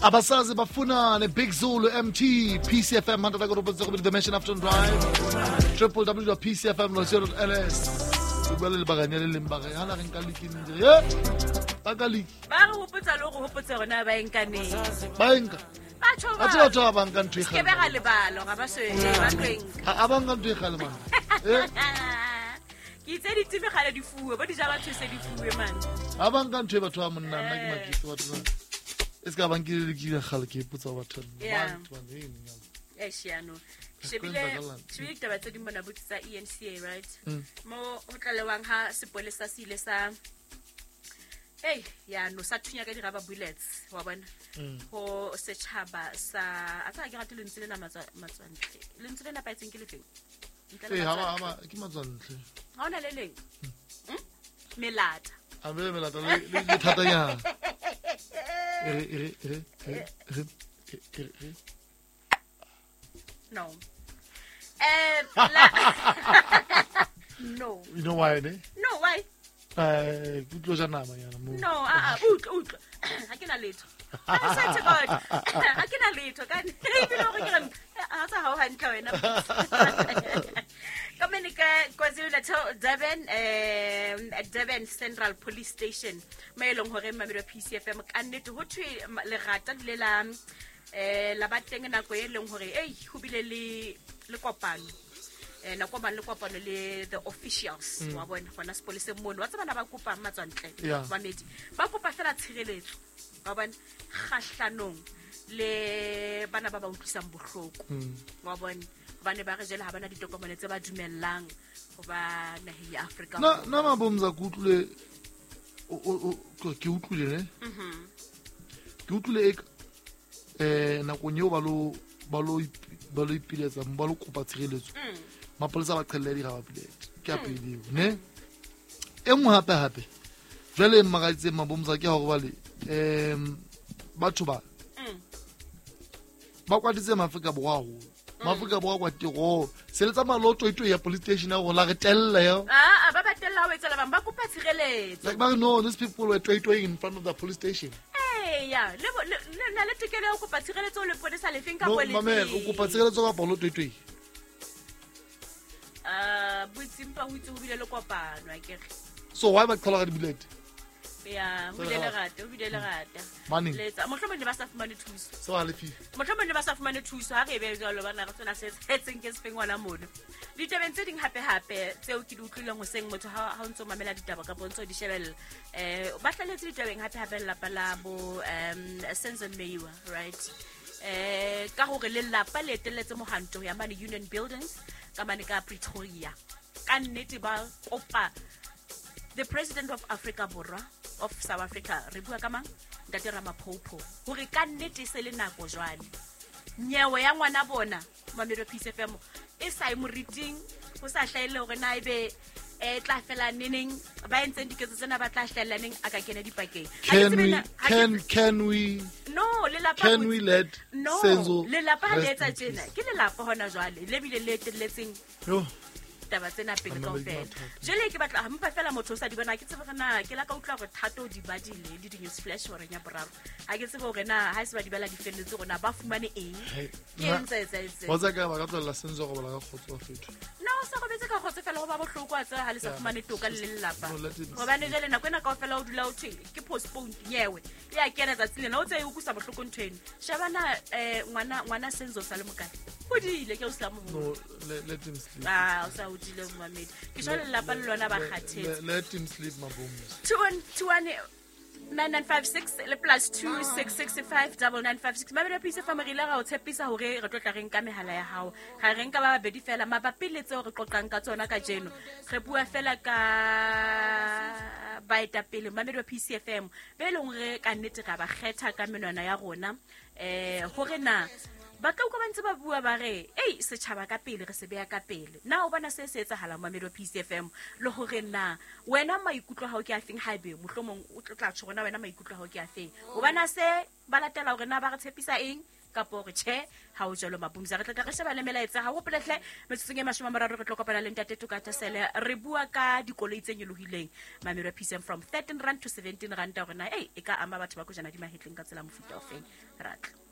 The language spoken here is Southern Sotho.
Abasazi bafunane Big Zulu MT PCFM 100.7 The Mansion Afternoon Drive www.pcfm.co.ls o bua le lebakanya le leng ba re hana re nka liki ntse ye ba ka liki Ba re hopotsa le go hopotsa rona ba enkaneng. Ba enka. Batho ba tseba batho ba ba nka ntho e ke be ga lebalo ga ba se ba tlo enka. A ba nka ntho e gale man. Eh. Ke itse ditime gale di fuwe bo di ja batho se di fuwe man. A ba nka ntho e batho ba monna nna ke makitse batho ba. E se ka ba nkile le kile gale ke ipotsa batho. Yeah. Batho ba eng ya. Eish, yaanong Ka shebile kwenzakalang? shebile ditaba tse ding mona botse tsa enca right mo ho tlalewang ha sepolesa se ile sa ei yaano sa thunya ka di-rubber bullets wa bona ho setjhaba sa a tsa ke rate lentswe lena matswantle lentswe le nepahetseng ke lefeng Ntle le Eh, ha ba matswantle. ha ba ke matswantle. Ha hona le leng? Melata. A be melata le le thatanyana. E re e re e re e re e re e re. No. No. You know why ne? No, why? Eh, ke tlo ja nama yana mo. No, ah, ah, utlwa, utlwa. Ha ke na letho. I swear to God. Ha ke na letho. Ka ebile hore ke re, ha tsa hao hantle wena. Ka mene ka KwaZulu-Natal, Durban, Durban Central Police Station. Mo e leng hore Mamelodi PCFM ka nnete ho thwe lerata le la la ba teng nako e leng hore ei ho bile le kopano. Nako ba le kopano le the officials wa bona gona sepoleseng mono wa tsebana ba kopang matswantle mamedi ba kopa fela tshireletso wa bona kgahlanong le bana ba ba utlwisang bohloko wa bona hobane ba re jele ha bana ditokomane tse ba dumellang ho ba naheng ya Afrika Na na mabomza ke utlwile ke utlwile ne? Ke utlwile e nakong eo ba lo ipiletsa ba lo kopa tshireletso. Mapolesa ba qhelle di-rubber bullet. Ke a pele eo, ne? E nngwe hape hape. Jwale e mmakaditseng mabomza ke hore bale batho ba ba kwatitse Maafrika Borwa haholo. Maafrika Borwa kwa tiro. Se le tsamaya le ho toitoi ya police station ya rona, re tella ya. Ah, ba ba tella ho etsa bang ba kopa tshireletso. Like, ba re, no, these people were toitoing in front of the police station. Eya, le na le tokelo ya ho kopa tshireletso le polisa lefeng ka No, polisi. mamela, o kopa tshireletso kapa o lo toitoi? Ah, boitsimpa ho itse ho bile le kopano, akere. So why ba qhala ka di-bullet? Ya, ho bile lerata, ho bile lerata. Maneng? Letsa, mohlomong ne ba sa fumane thuso. Se ba halefile. Mohlomong ne ba sa fumane thuso, ha re e be jwalo bana re tsena se etseng ke sefeng ngwana mono. Ditabeng tse ding hape hape tseo ke di utlwileng hoseng motho ha o ntso mamela ditaba kapa o ntso di shebella. Ba hlaletse ditabeng hape hape lelapa la bo Senzo Meyiwa, right? Ka hore lelapa le etelletse mohanto ya mane Union Buildings ka mane ka Pretoria. Ka nnete ba kopa the president of Africa Borwa of South Africa re bua ka mang Ntate Ramaphosa hore ka nnete se le nako jwale nyewe ya ngwana bona Mamelodi Peace FM e sa e moriting ho sa hlahelle hore na ebe e tla fela neneng ba entseng diketso tsena ba tla hlahella neng a ka kena dipakeng. Can we can we no lelapa can we let no Senzo lelapa ha le rest etsa in tjena peace? Ke lelapa hona jwale le bile le etelletseng Yo. taba tsena pele Mamela kaofela. mathata. Jwale ke batla mpa fela motho o sa di bona ke tsebe hore na ke la ka utlwa hore Thato o di badile le di-news flash horeng ya boraro. Ha ke tsebe hore na ha e se ba di bala di felletse hore na ba fumane eng. Hey, Ke eng tse etsahetseng? Wa tseba ka ba ka tlohella Senzo go bala ka kgotso wa fetho. No, o sa robetse ka kgotso fela ho ba bohloko a tseba ha le sa Yeah. fumane toka le lelapa. No, let him Hobane jwale nako ena kaofela o dula o thwe ke postponed nyewe. E a kena tsatsi lena o tse e utlwisa bohloko ntho eno. Sheba na ngwana Senzo o sa le mokae. Hodile ke o sa moholo. No, let him sleep. Ah, o sa hodile momamedi. Ke jwale lelapa le lona ba kgathetse. Let him sleep, Maboms. 21 9956 le plus 2665 9956. Mamelodi Peace FM re ile ra o tshepisa hore re tlo tla re nka mehala ya hao. Ga re nka ba babedi fela mabapi le tseo re qoqang ka tsona kajeno. Re bua fela ka baetapele Mamelodi Peace FM be leng hore ka nnete ra ba kgetha ka menwana ya rona. Hore na ba tla utlwa ba ntse ba bua ba re ei setjhaba ka pele re se beha ka pele. Na o bona se se etsahalang Mamelodi Peace FM le hore na wena maikutlo a hao ke a feng haebe mohlomong o tla tjho hore na wena maikutlo a hao ke a feng. O bona se ba latela hore na ba re tshepisa eng Kapo hore tjhe, ha o jwalo Mapumza. Re tla tla re sheba le melaetsa. Ha o hopole hle, metsotsong e 30 re tlo kopana le Ntate Toka Thesele. Re bua ka dikoloi tse nyolohileng. Mamelo PCM from 13 rand to 17 rand hore na, ei, e ka ama batho ba kojana di mahetleng ka tsela mofuta ofeng. Ra tla.